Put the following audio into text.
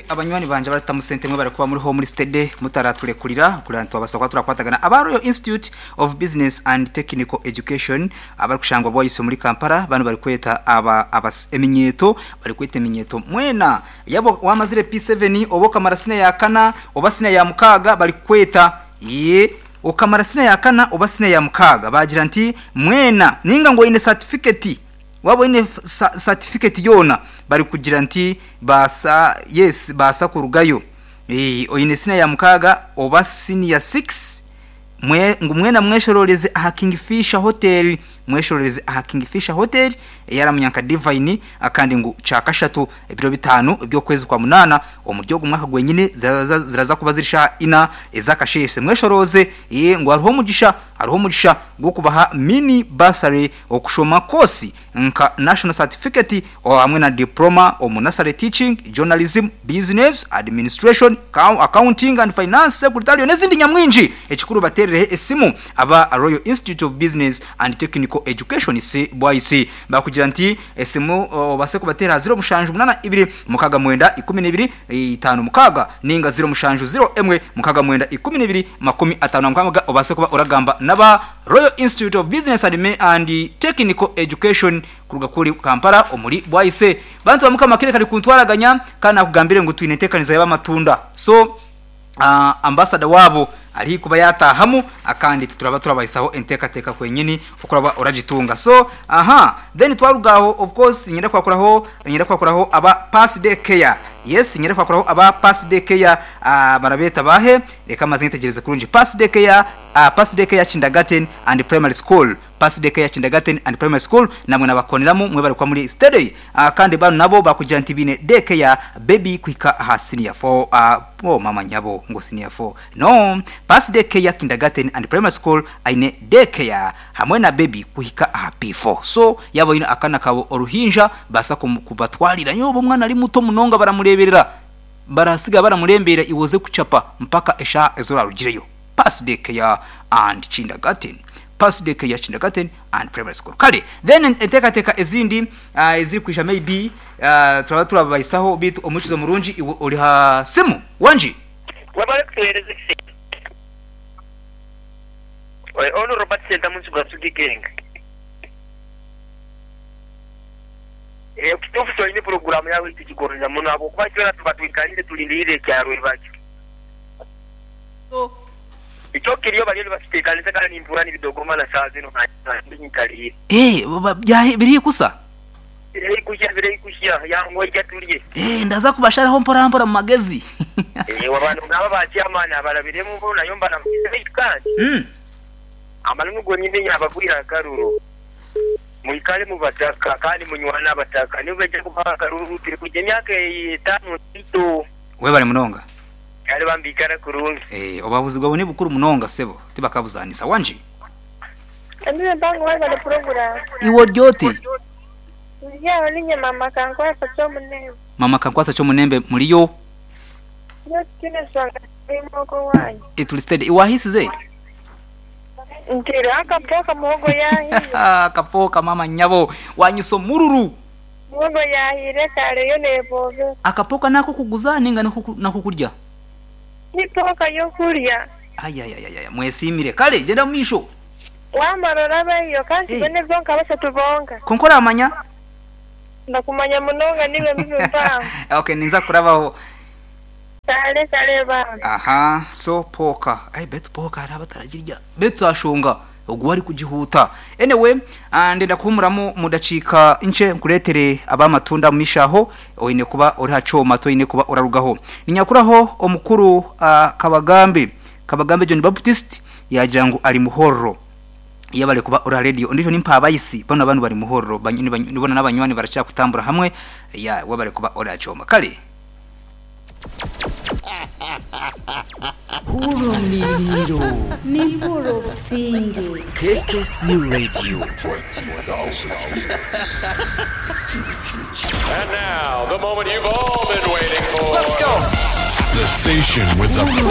Abanywani bangye abarikutamu sente mwebare kuba muriho muri steady mutaraturekurira kureba ngu twabasa kuba turakwatagana. Aba Royal Institute of Business and Technical Education abarikushangwa Bwayiso omuri Kampala banu barikweta aba abas eminyeeto barikweta eminyeeto mwena yaba wamazire P7 oba okamara siniya ya kana oba siniya ya mukaaga barikukweta Yee okamara siniya ya kana oba siniya ya mukaaga baagira nti mwena ninga ngu oine satifiketi Waaba oine satifiketi yoona barikugira nti baasa yes baasa kurugayo oine siniya ya mukaaga oba siniya sikisi ngu mwena mweshorooreze aha Kingfisher Hotel mweshorooreze aha Kingfisher Hotel eyaramunya nka Divine kandi ngu kyakashatu ebiro bitaano eby'okwezi kwa munaana omuri ogu mwaka gwenyine ziraza kuba ziri shaaha ina ez'akasheeshe mweshorooze ngu hariho omugisha Hariho omugisha gw'okubaha mini bursary okushoma koosi nka National Certificate hamwe na Diploma omu Nursery Teaching, Journalism, Business, Administration, Accounting and Finance, Secretarial n'ezindi nyamwingi. Ekikuru bateerereho esimu aba Royal Institute of Business and Technical Education, Bwaisi. Baakugira nti esimu obaase kubateera aha 0782 69 12 56 nainga 0701 69 12 56 obaase kuba oragamba n'aba Royal Institute of Business and Technical Education kuruga kuri Kampala omuri Bwaise. Bantu ba Mukama akaire kari kuntwaraganya kandi nakugambire ngu twine enteekaniza y'abamatunda so Ambassador waabo ari haihi kuba yataahamu akandi itwe turaba turabahisaho enteekateeka kwenyini oku oraba oragitunga. So aha then twaruga aho of course niinyenda kwakuraho niinyenda kwakuraho aba Pass Day Care. Yes niinyenda kwakuraho aba Pass Day Care barabeeta baahe? Reka maze nyetegyereze kurungi. Pass Day Care Pass Day Care Kindergarten and Primary School. Pass Day Care Kindergarten and Primary School namwe nabakoneramu mwebare kuba muri steady kandi banu nabo bakugira nti biine day care baby kuhika aha senior 4 oh mama nyabo ngu senior 4 no Pass Day Care Kindergarten and Primary School aine day care hamwe na baby kuhika aha P4 so yaba oine akana kawe oruhinja baasa kubatwarira nyowe oba omwana ari muto munonga baramureberera barasiga baramurembeera iwe oze kuchapa mpaka eshaaha ezi orarugireyo. Pass Day Care and Kindergarten, Pass Day Care Kindergarten and Primary School. Kare then enteekateeka ezindi ezirikwija maybe turaba turabahisaho beitu omuhurikiza murungi iwe ori ha simu wangi. Webale kutuhereza ekisiimo. Onu Robert Sentamu Nsuga Nsugi Gang. Ekituufu kyonyini puroguraamu yaawe nitugigonza muno ahabw'okuba itwena tuba twikaliire tulindiirire ekyarwa ebakyo. Ekyo kiriyo bariyo nibakiteekanisa kandi nimpurira nibidogoma na shaaha zinu nanye nyikariire. Eh, biri haihi kusa? Biri haihi kuhya, biri haihi kuhya. Yanguha ija turye. Eh, ndaza kubasharaho mpora mpora mu magezi. Eeh, abantu nk'aba ba chairman abarabiremu bo nayo mba namugize beitu kandi amananu gonyine nyabagwire akaruru. Mwikare mu bataka kandi munywane abataka nibo baija kubaha akaruru turi kwija emyaka etaano ntaito. Webare munonga. Kare bambi ikara kurungi. Eeh obuhabuzi bwawe nibukuru munonga sebo tibakabuzanisa wangi. Emile mpango webale puroguramu. Iwe ori oti? Ndi aho ninye mama Kankwasa Kyomunembe. Mama Kankwasa Kyomunembe muriyo? Turiyo titwine nshonga turimu okwo owanyu. Turi steady. Iwe wahiisize? Ntaireho akapooka muhogo yahiire. Akapooka mama nyabo wanyisa omururu. Muhogo yahiire kare yo nebobera. Akapooka n'akokuguza ninga n'akokurya? Ni pooka y'okurya. Ayayayaya mwesiimire. Kare gyenda omu maisho. Wamara orabeyo kandi tubone zonka bashatu bonka. Kwonka oramanya? Ndakumanya munonga niiwe mbibi mpango. Okay ninza kurabaho. Kare kare bambi. Aha so pooka ai beitu pooka hariho abataragirya beitu twashonga ogu we arikugihuuta anyway ndenda kuhumuramu omu dakiika nkye nkureetere ab'amatunda omu maisho aho oine kuba ori aha kyoma toine kuba orarugaho. Ninyakuraho omukuru Kabagambe Kabagambe John Baptist yaagira ngu ari Muhorro yebare kuba ori aha radio ondiijo ni Mpabayisi boona banu bari Muhorro boona n'abanywani barakira kutambura hamwe yeah webare kuba ori aha kyoma kare. Hurra omuriiro. Nimpurira obusinge. KKC Radio. And now, the moment you've all been waiting for. The station with the